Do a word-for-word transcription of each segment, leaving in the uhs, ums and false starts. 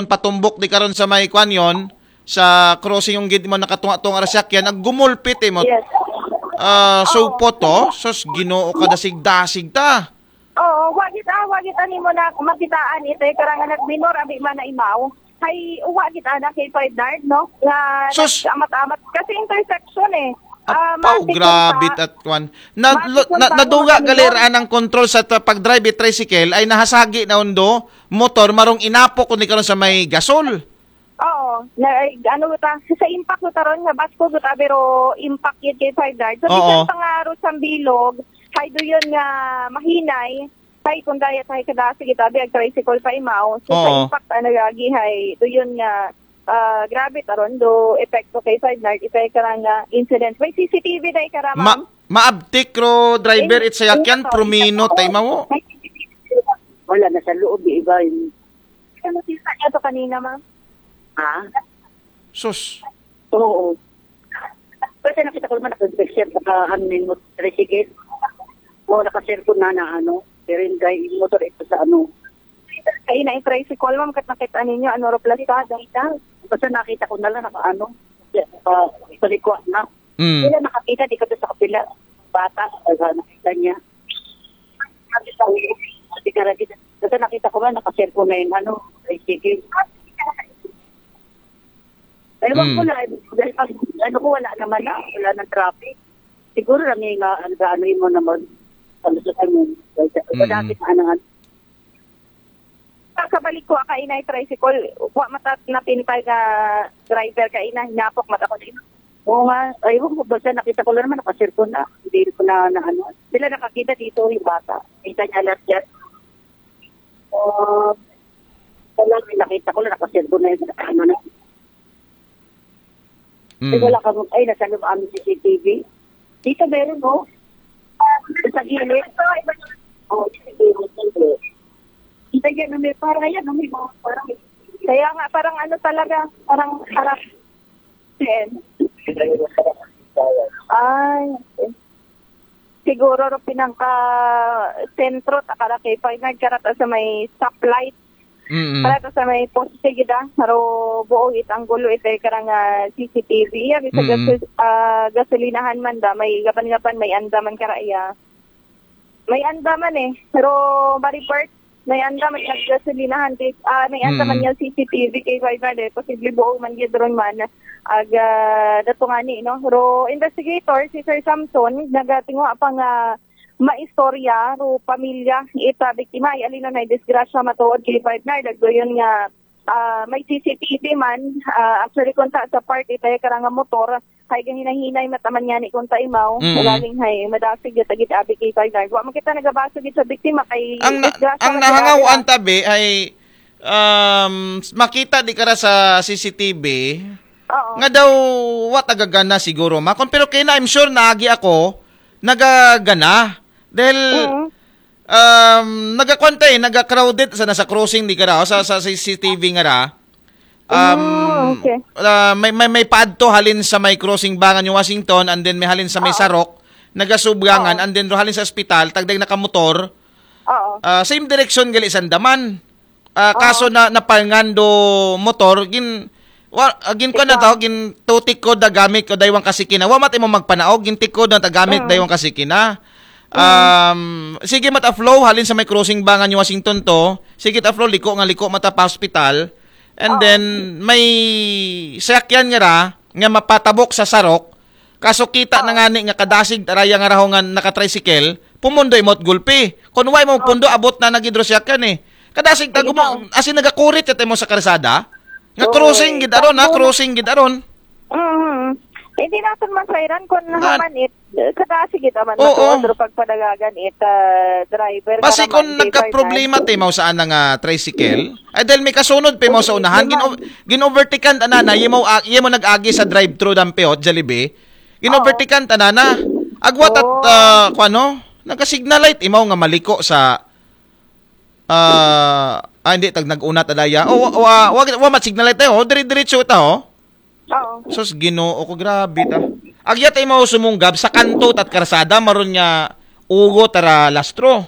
patumbok di karon sa may kwan yon, sa crossing yung gid mo nakatunga-tunga ra sakyan, naggumulpit eh mo. Yes. Ah, so po to, sus, Ginoo ka, dasig-dasig ta. Oo, wa kita, wa kita nimo na makitaan ito, karang anak minor, abi man na imaw. Hay, wa kita na kay Ferdinand, no? Nga Sus! Amat-amat. Kasi intersection eh. Ah, Apaw, matik grabe pa. at kwan. Na, Matik lo- yung na, pa- naduga ano gali yun? Raan ang control sa ta- pag-drive it tricycle ay nahasagi na undo, motor, marong inapok kundi karon sa may gasol. Oo, na, ay, ano ta, sa impact ko taron nga basko ko ta, pero impact yun kay Ferdinand. So, Oo. bisan pa nga ro sa bilog, hay do yun nga mahinay, hay kung daya tayo kadasig itabi, ag tricycle pa imaw. So, sa Oo. impact, ano, gagi, hay do yun nga, ah, grabe taron, do epekto kay Ferdinand, itay ka lang nga incident. May C C T V na ikara, Ma ma'am? maabtik ro driver Eh, it sayakyan, eh, promino oo. tay mawo. May C C T V. Wala, nasa loob, di iba yun. Ano, sisa niya to kanina, ma'am? Ha? Sus. Oo. Kasi nakita ko naman, naka-picture, naka, ano, yung motor, tricycle. Oo, naka-cellphone na, na, ano, pero yung guy, yung motor, ito sa, ano, Ay, na tricycle, ma'am, kat nakita ninyo, ano, ro plasada. basta nakita ko na lang, naka, ano, uh, palikwa na. Mm. Sila nakakita, di ka sa kapila. Bata, uh, nakita niya. Sabi sa ulo, sabi ka lagi, basta nakita ko nga, naka-cellphone na yung, ano, tricycle. Ewan Mm. ko lang, dahil pag, ano ko, wala naman na, wala nang traffic. Siguro lang yung, uh, ano, ano yun mo naman, ano sa ano, Mm. dati na, ano, ano, Pagkabalik ko, kainay tricycle, wa mata napintay nga driver kainay, hinapok mata ko din. Oo nga, ayun ko, basta nakita ko lang naman, naka-cellphone na, hindi ko na, na ano. Sila nakakita dito, yung bata. Kita niya lahat yan. Oh, wala, nakita ko lang, naka-cellphone na yun, ano na. Ay, Mm. wala kang, ay, nasa loob ang C C T V. Dito meron, no? Sa gilid. Oh, sige, sige. Kita yan, may para yan, may mga parang Kaya nga, parang ano talaga, parang, parang, Sen. Ay, okay. Siguro ro pinangka sentro, takara kay Ferdinand, karata sa may stoplight, Mm. karata sa may poste gida, pero buo it anggulo ito karang ah, C C T V. Iya, sa Mm. gaso- ah, gasolinahan man da, may gaban-gaban, may anda man kara iya. May anda man eh, pero ma-report, may anda man naggasolinahan kay, ah, may anda man Mm. yung C C T V kay Ferdinand eh, posible buo man gid ron man. Ag ah, dato nga ni, no? Pero investigator, si Sir Samson, nagatinguha pa nga maistorya ro pamilya ita biktima, ay alino na disgrasya matuod kay Ferdinand. Agdo yun nga ah, may C C T V man, ah, actually kunta sa part ita karang nga motor, hay gahinahinay mataman niya ni kunta imaw, Mm. Galing hay madasig ya tagit abi kay Ferdinand. Wa man kita nagabasog gid sa biktima kay Ang na, disgrasya ang man nahangawan sila. Tabi ay um, makita di kara sa C C T V Oo. nga daw wa tagagana siguro makon, pero kay na, I'm sure naagi ako nagagana dahil Mm. um, nagakwantay, naga-crowded sa nasa crossing di kara o sa, sa C C T V nga ra. Um, Ah, okay. ah, may, may, may paadto halin sa may crossing Bangan yung Washington, and then may halin sa may Oo. Sarok, nagasubgangan, Oo. and then ro halin sa ospital, tagday nakamotor, Oo. ah, same direction gali sandaman. Ah, Oo. kaso na napalngan do motor, gin wa, ah, gin ko na Ikaw. tao, gin tutik ko da gamit ko daywang kasikina. Wa mat imo magpanaog, gin tikod na ta gamit Mm. daywang kasikina. Um, sige mata flow halin sa may crossing Bangan yung Washington to. Sige ta flow, liko nga liko mata pa hospital. And Oo. then may sakyan nga ra nga mapatabok sa Sarok. Kaso kita na Oo. nga ni nga kadasig taraya nga raho nga naka-tricycle, pumundo imot gulpi. Kun wa mo pundo, abot na nagidro sakyan eh. Kadasig ta Ay, gumo, ikaw. As in nagakurit yata mo sa karsada. Nga Oo, crossing eh. gid aron, ha, Tapos, crossing gid aron. Mm. Hindi natin masayran kung Nga- naman it, kada sige naman Oo. matuod, pero pagpadagagan it, ah, driver. Basi Para kung man, nagka-problema driver. Tayo mo sa ana nga tricycle, ay dahil may kasunod pa mo sa Oo, unahan, naman. gin-, gin-overtikan ta na, na, mo, ah, mo nag-agi sa drive-thru dampiyot, Jollibee, gin-overtikan ta na na. Agwat at, Oo. ah, kung ano, nagka-signal light, imaw nga maliko sa, ah, ah, hindi, tag nag-una ta daya. O, wa, wa, wa, wa mat signal light tayo, oh, dire-diretso ta, oh. Oo. Sus, Ginoo ko, grabe ta. Agyat ay mo sumunggab sa kanto tat karsada, maron nga ugo tara lastro.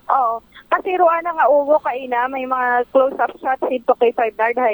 Oo. Kasi rua na nga uwo kaina, may mga close-up shots didto kay Five Yard High